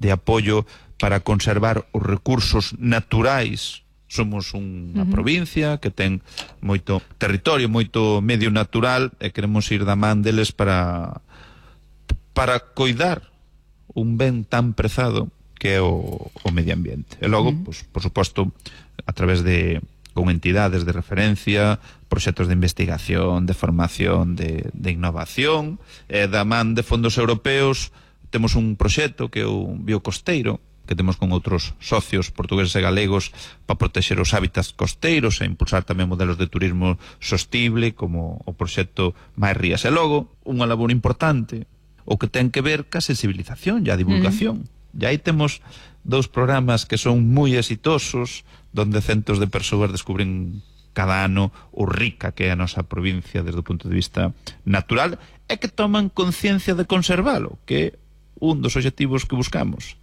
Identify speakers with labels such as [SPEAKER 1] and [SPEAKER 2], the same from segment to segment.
[SPEAKER 1] de apoio para conservar os recursos naturais. Somos unha provincia que ten moito territorio, moito medio natural, e queremos ir da man deles para coidar un ben tan prezado que é o medio ambiente. E logo, pues, por suposto, a través con entidades de referencia, proxectos de investigación, de formación, de innovación, da man de fondos europeos, temos un proxecto que é o Biocosteiro, que temos con outros socios portugueses e galegos para protexer os hábitats costeiros e impulsar tamén modelos de turismo sostible, como o proxecto Máis Rías. E logo, unha labor importante, o que ten que ver ca sensibilización e a divulgación. E aí temos 2 programas que son moi exitosos, donde centos de persoas descubren cada ano o rica que é a nosa provincia desde o punto de vista natural, e que toman conciencia de conservalo, que é un dos obxectivos que buscamos.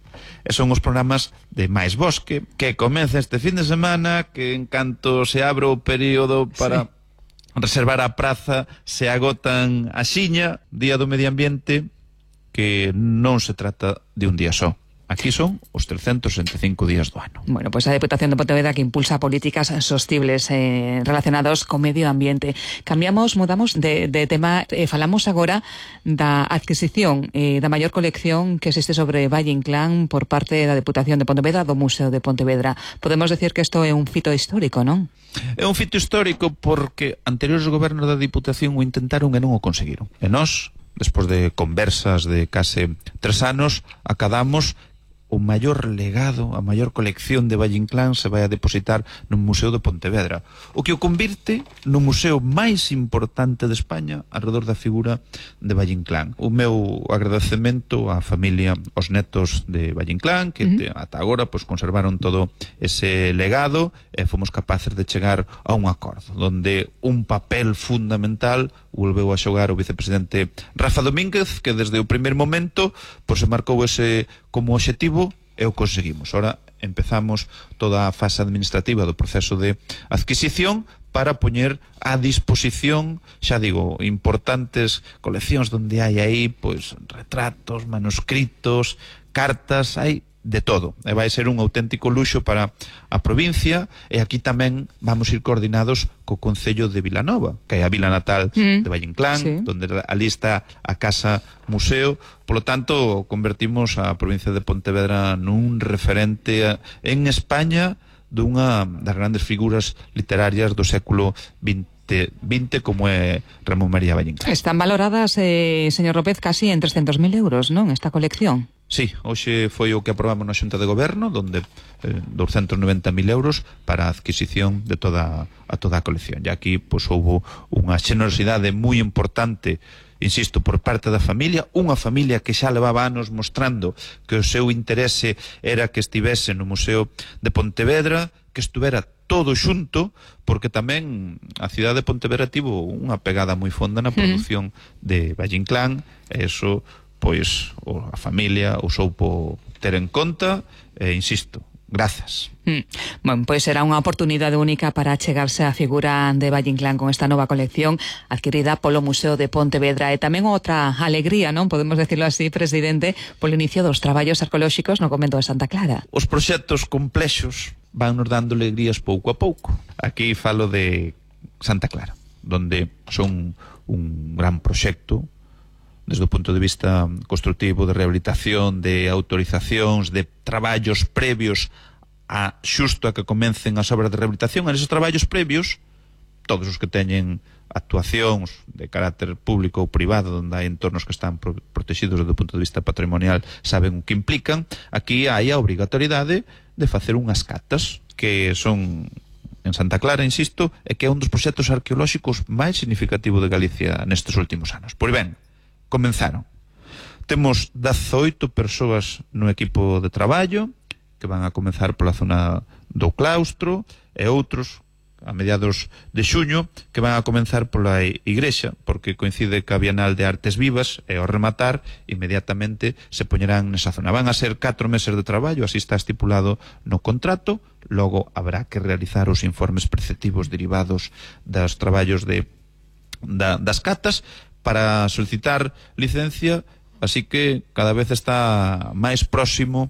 [SPEAKER 1] E son os programas de Máis Bosque, que comeza este fin de semana, que en canto se abre o período para reservar a praza, se agotan a xiña, Día do Medio Ambiente, que non se trata de un día só. Aquí son os 365 días do ano.
[SPEAKER 2] Bueno, pues a Deputación de Pontevedra que impulsa políticas sostibles relacionados co medio ambiente. Mudamos de tema, falamos agora da adquisición da maior colección que existe sobre Valle Inclán por parte da Deputación de Pontevedra, do Museo de Pontevedra. Podemos decir que isto é un fito histórico, non?
[SPEAKER 1] É un fito histórico porque anteriores gobernos da Diputación o intentaron e non o conseguiron. E nós, despois de conversas de case 3 anos, acadamos o maior legado, a maior colección de Valle Inclán se vai a depositar no Museo de Pontevedra, o que o convirte no museo máis importante de España alrededor da figura de Valle Inclán. O meu agradecemento á familia, aos netos de Valle Inclán, que ata agora pues, conservaron todo ese legado e fomos capaces de chegar a un acordo, donde un papel fundamental volveu a xogar o vicepresidente Rafa Domínguez, que desde o primer momento pues, se marcou ese como obxectivo e o conseguimos. Ahora empezamos toda a fase administrativa do proceso de adquisición para poñer a disposición, xa digo, importantes coleccións donde hai aí pues, retratos, manuscritos, cartas, hai de todo, e vai ser un auténtico luxo para a provincia, e aquí tamén vamos ir coordinados co Concello de Vilanova, que é a vila natal de Valle Inclán, donde ali está a Casa Museo. Polo tanto, convertimos a provincia de Pontevedra nun referente en España dunha das grandes figuras literarias do século XX, como é Ramón María Valle Inclán.
[SPEAKER 2] Están valoradas, señor López, casi en 300.000 euros, non, esta colección?
[SPEAKER 1] Sí, hoxe foi o que aprobamos na Xunta de Goberno, donde 290.000 euros para a adquisición de toda a colección. E aquí pues, houve unha xenerosidade moi importante, insisto, por parte da familia, unha familia que xa levaba anos mostrando que o seu interese era que estivese no Museo de Pontevedra, que estuvera todo xunto, porque tamén a cidade de Pontevedra tivo unha pegada moi fonda na produción de Valle Inclán, e iso pois a familia o soupo ter en conta, e insisto, grazas.
[SPEAKER 2] Bueno, pois será unha oportunidade única para achegarse á figura de Valle Inclán con esta nova colección adquirida polo Museo de Pontevedra, e tamén outra alegría, non podemos decirlo así, presidente, polo inicio dos traballos arqueolóxicos no convento de Santa Clara.
[SPEAKER 1] Os proxectos complexos van nos dando alegrías pouco a pouco. Aquí falo de Santa Clara, donde son un gran proxecto desde o punto de vista constructivo, de rehabilitación, de autorizacións, de traballos previos a xusto a que comecen as obras de rehabilitación. En esos traballos previos, todos os que teñen actuacións de carácter público ou privado, onde hai entornos que están protegidos desde o punto de vista patrimonial, saben o que implican. Aquí hai a obrigatoriedade de facer unhas catas, que son en Santa Clara, insisto, e que é un dos proxectos arqueolóxicos máis significativos de Galicia nestes últimos anos. Pois ben, comenzaron. Temos 18 persoas no equipo de traballo que van a comenzar pola zona do claustro, e outros a mediados de xuño que van a comenzar pola igrexa, porque coincide ca Bienal de Artes Vivas, e ao rematar inmediatamente se poñerán nesa zona. Van a ser 4 meses de traballo, así está estipulado no contrato. Logo habrá que realizar os informes preceptivos derivados dos traballos das catas para solicitar licencia, así que cada vez está máis próximo